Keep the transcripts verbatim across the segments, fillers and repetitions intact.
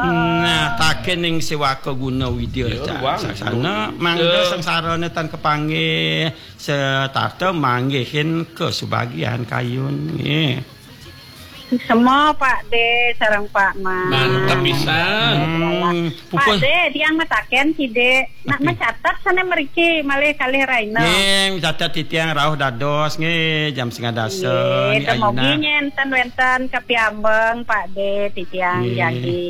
Nah, taken ning sewaka guna widya. Ya, cak, ruang. Saksana, mangda sengsarane tan kepanggih, setata manggihin kesubagian kayun. Nggih. Semua Pak De sareng Pak Man. Mantep pisan. Hmm, Pak pupus. De, tiang mataken sidik. Nak macatet sana meriki malih kalih raina. Nggih, catet titiang rauh dados nggih jam setengah dasa. Nggih, ni temogi ayuna. Nyenten wenten kapiambeng Pak De titiang. Nggih. Jagi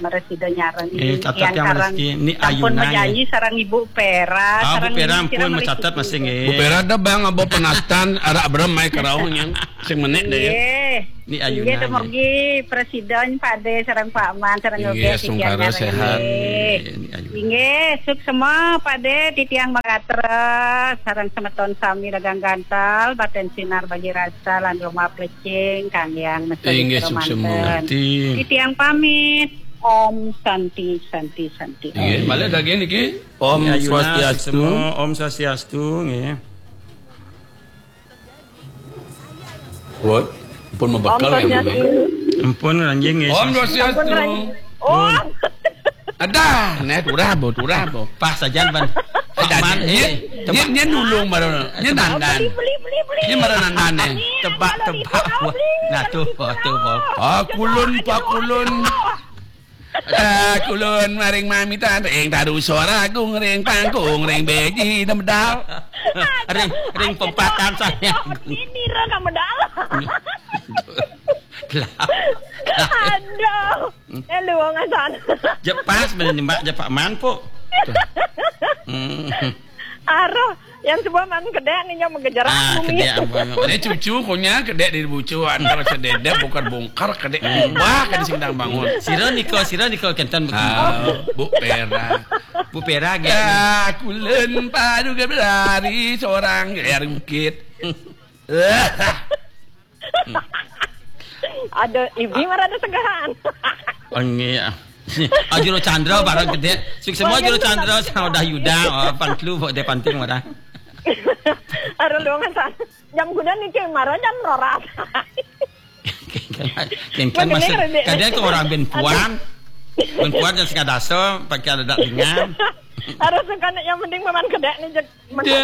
meresida nyareng. Nggih, catet tiang sareng rezeki. Ni sampun ayuna, majanji nggih. Sareng Ibu Pera, ah, Bu sareng Pera ampun macatet masih nggih. Bu Pera dah bang abo penastan arak berem mai kerauh nyen. Sing menek deh ya. Nggih. Ni ayuna. Inggih, dumugi Presiden, Pak De, sareng Pak Man, sareng. Inggih, Yogi, sungkara titiang sehat. Nggih. Ni ayuna. Inggih, suksma, Pak De, titiang mangatra, sareng semeton sami dagang gantal, baten sinar bagi rasa, lan rumah plecing, kang yang mesti. Inggih, suksma. Manten. Titiang pamit. Om Santi, Santi, Santi. Inggih, malih daging niki. Om. Ni ayuna, Swastiastu. Suksma, Om Swastiastu, nggih. Woi, pun mebekal ya, Swastiastu. Memang. Ampun, anjing, ya. Om Swastiastu. Ampun, Ran-, oh. Ada, neh, turah, bo, turah, bo. Pas saja, Ban. Eh, Man, dia, eh, dia, tebak. Dia nulung baru. Dia dandan. Beli, beli, beli, beli. Dia baru dandan, eh. Tebak, tebak. Beli, beli. Nah, tuh, tuh, tuh. Pakulun, pakulun. Ah, kulun maring mamitan ring taru soragung ring pangkung ring beji demedal. Ring, ring pempatan saya. Ini ro kamu dalam. Gelap. Aduh. Eh, lu wong asan. Jepas bener nembak jepak manpuk. Hmm. Aroh, yang sebuah man kedek nih, yang menggejerak. Ah, bumi. Kedek apa? Ini cucu punya kedek di bucu, antara sededep, bongkar-bongkar, kedek ubah, kedek sing dang bangun. Sira nika, sira nika kenten begini. Ah, Bu Pera. Bu Pera, nggih. Ya, kulen padu ke berlari seorang dari bukit. Ada ibi marada segahan. Oh, nggih. Ah, Juru Chandra barang gede. Sing semua Juru Chandra, Saudah Yuda, oh, pan telu, kok dia panting marah. Aduh, lu nggak sa-, jam kuda nih, Cing, marah jam roras. Kengken, kengken. Maksudnya masuk. Kredit. Kadang ke orang ben puan. Ben puan yang sekadasa, pakai ada dak ringan. Harus kan yang penting paman kedek nih, Cek. Deh,